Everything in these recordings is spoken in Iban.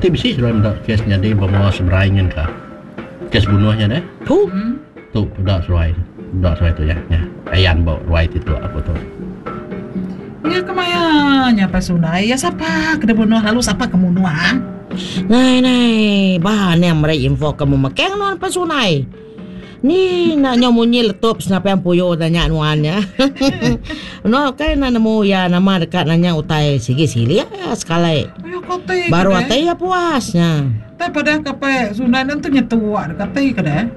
Kati bisi seduai meda kes nyadi ba menua seberai nyin ka? Kes bunuh nya deh. Tu. Tu peda seduai. Peda seduai tu nya. Nya ayan ba ruai ti tu aku tu. Iya kemaya nya pai sunai iya sapa ke dibunuh lalu sapa ke munuh ah. Nai nai ba aning meri info ke memekeng nuan pai sunai. Ni enda nyau munyi letup senapang puyu tanya nuan nya. Nuan ukai enda nemu iya nama deka nanya utai sigi silik iya sekali. Baru ati iya puas nya. Tai padah ka pe sunai nentu nyetua deka ti ke deh.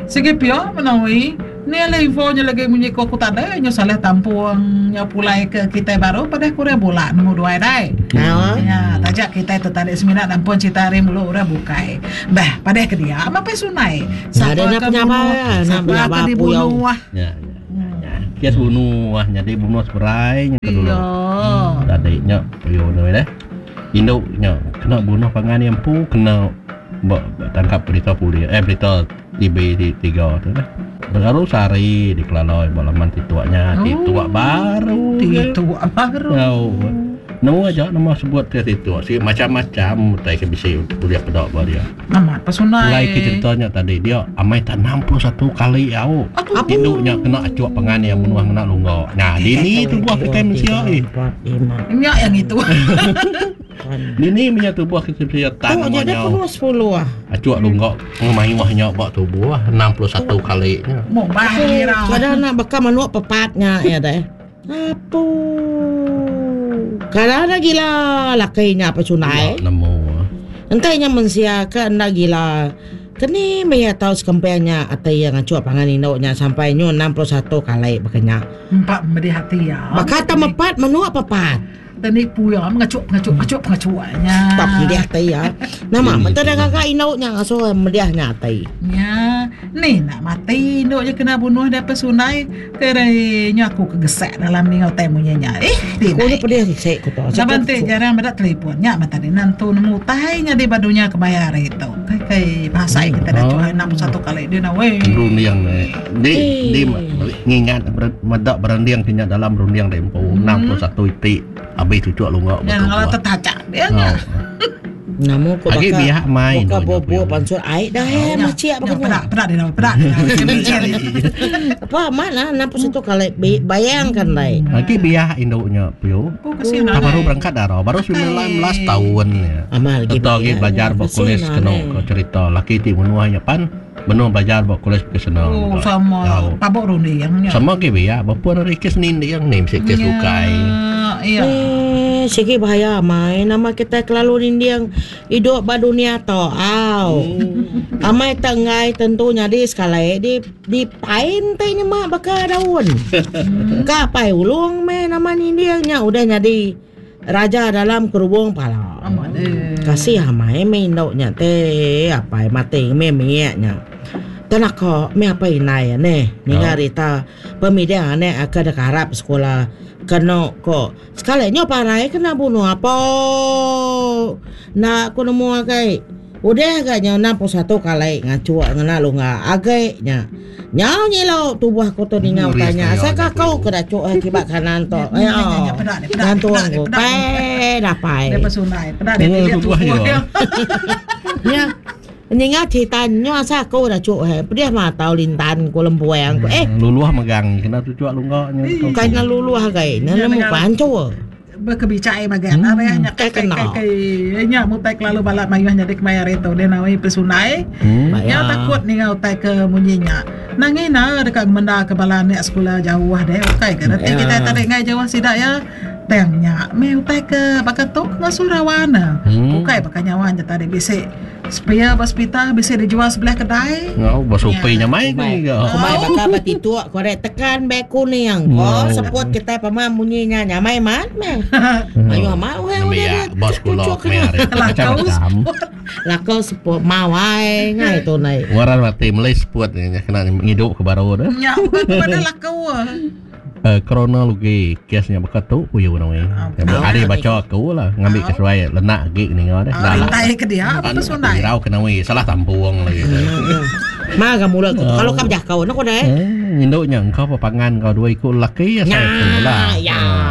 Sigi pia menoi ni alai info nya lagi munyi ko aku tadi nyu saleh tampung nyau pulai ke kitai baru padah ku orang bula nemu duai dai. Nya taja kitai tu tadi semina nampung cerita ari mulu orang bukai. Bah padah ke dia meh pe sunai sapa ke bunuh sapa ke dibunuh. Nya nya nya. Kes bunuh nyadi bunuh seberai nya ke dulu. Tadi nya puyuh tu deh. Indu nya kena bunuh pangan iya empu kena ba tangkap berita polis eh berita TV tiga tu lah. Baru sehari dikelala ba laman tituk nya tituk baru. Tituk baru. Tau. Nemu aja nama sebut ke tituk sigi macam-macam utai ke bisi ulih peda ba dia. Amat pesunai. Pulai ke cerita nya tadi dia amai tak 61 kali au. Indu nya kena achuk pangan iya munuh ngena lungga. Nya dini tubuh kitai mensia eh. Nya yang itu. Dini menya tubuh kitai mensia tan nama nya. Tu Achuk lungga ngemayuh nya ba tubuh 61 kali nya. Mubah ngira. Kada nak baka manuk pepat nya ya deh. Apu. Kada enda gila laki nya pechundai. Enda nemu. Enti nya mensia ke enda gila keni meh iya tau sekemping nya ati iya ngachuk pangan indu nya sampai nyu 61 kali baka nya. Empa medih ati iya. Baka tau mepat menua pepat. Tani puya mengachuk pengachuk pengachuk pengachuk nya. Tak medih ati iya. Nama meh dah gaga indu nya ngasuh medih nya ati. Nya ni nak mati indu nya kena bunuh deh pesundai ke deh nya aku ke gesak dalam ninga utai munyi nya. Eh di Aku nya pedih sik ku tu. Laban ti jarang meda telefon nya meh tadi nentu nemu utai nyadi ba dunya kemaya hari tu. Kai kai bahasa kita dah cuai 61 kali dia na weh. Runding di di ngingat meda berunding ti nya dalam runding dek empu 61 iti abis cucuk lunga Nya ngalah tetacak dia nya. Namu ko Agi baka biak mai baka indu nya bobo puyuh. pansut ai dah eh machik baka nya. Peda peda dia peda dia. Apa amat lah 61 kali bayangkan dai. Agi biak indu nya puyuh. Oh kasihan Tak baru berangkat dara baru 19 taun nya. Amat lagi Serta agi belajar ba kolej kenu ko cerita laki ti menua nya pan Benung belajar ba kolej vokasional Oh, mega. sama Tau. pabuk runding nya. Sama agi biak bepun ari kes ninding ni bisi kes bukai. Iya. Eh, sigi bahaya amai nama kitai kelalu ninding idup ba dunia tu au. Amai te enggai tentu nyadi sekali di di pain ti nyema baka daun. Ka pai ulung meh nama ninding nya udah nyadi Raja dalam kerubung pala. Kasih amai meh indu nya ti apai mati meh mik nya. Tenaka meh apai indai neh ninga rita pemiding anak ke deka arap sekula kenu ko sekali nyu parai kena bunuh apo enda ku nemu agai. Udah ga nyau 61 kali ngachuk ngena lungga agi nya. Nyau nyilu tubuh aku tu ninga utai nya. Asai ka aku ke dachuk ai kiba kanan tu. Aya gantung ku pai dapai. Nya ninga cerita nyu asai aku dachuk ai pedih matau lintan ku lembuang ku eh. Luluh megang kena tuchuk lungga nya. Bukai nya luluh agi nya nemu panchur. Bekebichai magang hmm. Areh nya kai kai kai nya mutai kelalu balat mayuh nyadi kemaya hari tu dia nawi pesunai. Hmm. Nya takut ninga utai ke munyi nya. Nangi na deka ngemenda ke bala anak sekula jauh deh ukai ke reti kita tadi ngai jauh sida ya. Tang nya meh utai ke baka tu ngasuh rawan. Hmm. Ukai baka nyawa nya tadi bisi Spare ba sepital bisi dijual sebelah kedai. Ngau ba supi nya mai ke ga. Kumai baka ba tituk ko dek tekan beg kuning. Ko seput kitai pama munyi nya nyamai mat meh. Mayuh amat orang udah dia. Ba sekula kemaya hari tu macam-macam. Lako seput mawai ngai tu nai. Waran mati meli seput nya kena ngidup ke baru tu. Nya bukan pada lako. Kronologi kes nya baka tu ku iya nui. Ari bacha aku lah ngambi ke seduai lenak agi ninga deh. Rintai ke dia apa sunai. Irau ke nui salah tampung lagi. Ma ga mula ku kalau ka bejakau ne ku deh. Indu nya engka bepangan enggau dua iku lelaki asai aku lah.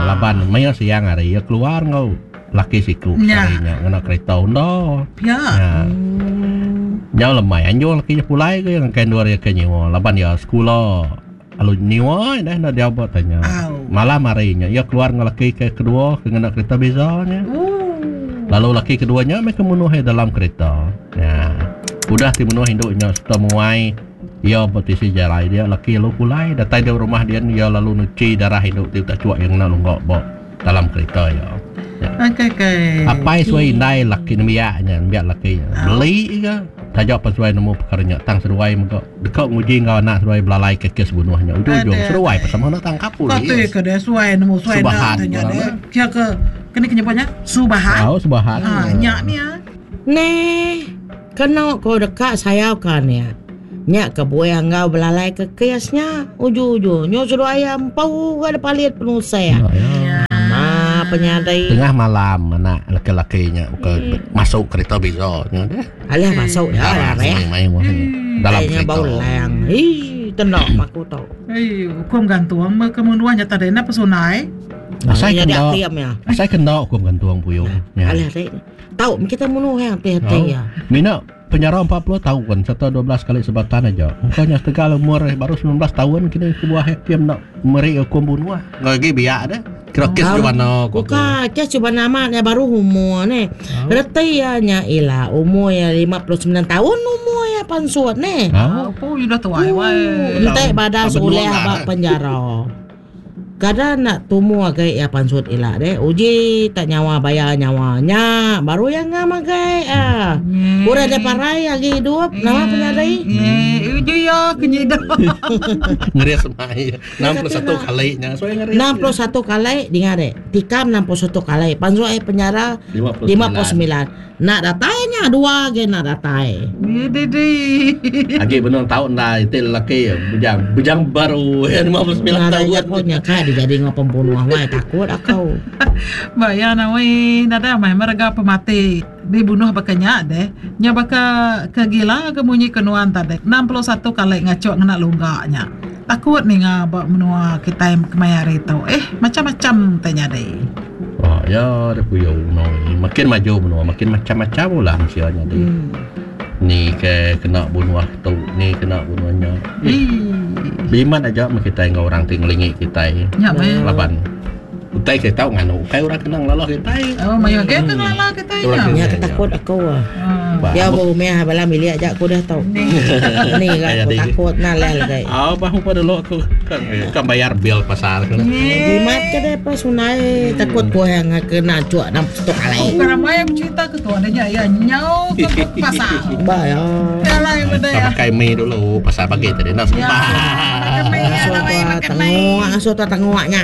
Laban maya siang hari iya keluar enggau. laki siku sehari nya ngena kereta unda. Pia. Nya. Nyau lemai anjung laki nya pulai ke ngagai endur iya ke nyiwa laban iya sekula lalu nyiwa dah enda diau ba tanya. Malam hari nya iya keluar enggau laki ke kedua ke ngena kereta beza nya. Lalu laki kedua nya meh ke munuh iya dalam kereta. Nya. Udah ti munuh indu nya sereta muai iya ba tisi jalai dia laki lalu pulai datai di rumah dian iya lalu nuchi darah indu ti udah chuak iya ngena lungga ba dalam kereta iya. Okey okey. Apai suai indai laki nembiak nya, nembiak laki nya. Beli ga taja pan seduai nemu pekara nya tang seduai mega deka nguji enggau anak seduai belalai ke kes bunuh nya. Ujung-ujung seduai pun sama enda tangkap polis. Kati ke deh suai nemu suai enda tanya deh. Kia ke keni ke nyebut nya? Subahan. Oh, subahan. Ha nya ni ah. Neh, kenu ko deka sayau ka nya. Nya kebuah enggau belalai ke kes nya. Uju-uju nyu seduai iya empu ga dipalit penusah. Nama penyadi. Tengah malam anak laki-laki nya buka masuk kereta biza nya deh. Alah masuk dah lareh. Dalam kereta. Bau lang. Ii tenda aku tu. Ii hukum gantung me ke menua nya tadi enda pesunai. Asai kena. Asai kena hukum gantung puyung. Alah dek. Tau kita munuh hang ti-ti ya. Mina Penjara 40 taun sereta 12 kali sebatan aja. Engka nya setegal umur iya baru 19 taun kini kebuah hakim enda meri hukum bunuh. Enggau agi biak deh. Kira kes Jubana ku aku. Buka kes Jubana amat iya baru umur neh. Reti iya nya ila umur iya 59 taun umur iya pansut neh. Apu udah tuai wai. Enti badas ulih ba penjara. Kada enda tumu agi iya pansut ila deh. Uji tak nyawa bayar nyawa nya baru iya ngam agi ah. Udah deh parai agi idup nama penyadi. Uji iya ke nyida. Ngeris mai 61 kali nya. So iya ngeris. 61 kali dinga deh. Tikam 61 kali pansut ai penjara 59. Enda datai nya dua agi enda datai. Agi benung tau enda iti lelaki bujang bujang baru iya 59 Nadai taun. jaku nya kai dijadi enggau pembunuh wai takut aku. Ba iya nawi nadai amai merega pemati dibunuh baka nya deh. Nya baka ke gila ke munyi ke nuan tadi 61 kali ngachuk ngena lungga nya. Takut ninga ba menua kitai kemaya hari tu eh macam-macam tai nyadi. Oh, ya dia puyuh menua. Makin maju menua, makin macam-macam ulah mensia nyadi. Hmm. Ni ke kena bunuh tu, ni kena bunuh nya. Bimat aja meh kitai enggau orang ti ngelingi kitai. Nya meh. Laban utai ke tau nganu ukai orang kena ngelala kitai. Oh, mayuh agi ke ngelala kitai nya. Nya ke takut aku. Ya ba rumah bala milik aja aku dah tu. Ni ga aku takut na leh lagi. Oh, bahu pa dulu aku kan kan bayar bil pasar ke. Jimat ke deh pa sunai takut ko yang kena cuk dalam stok alai. Bukan ramai yang bercerita ke tu adanya ya nyau ke pasar. Ba ya. Alai benda ya. Makai mi dulu pasar pagi tadi nak sempat. Aso tu tengok, aso tu tengoknya.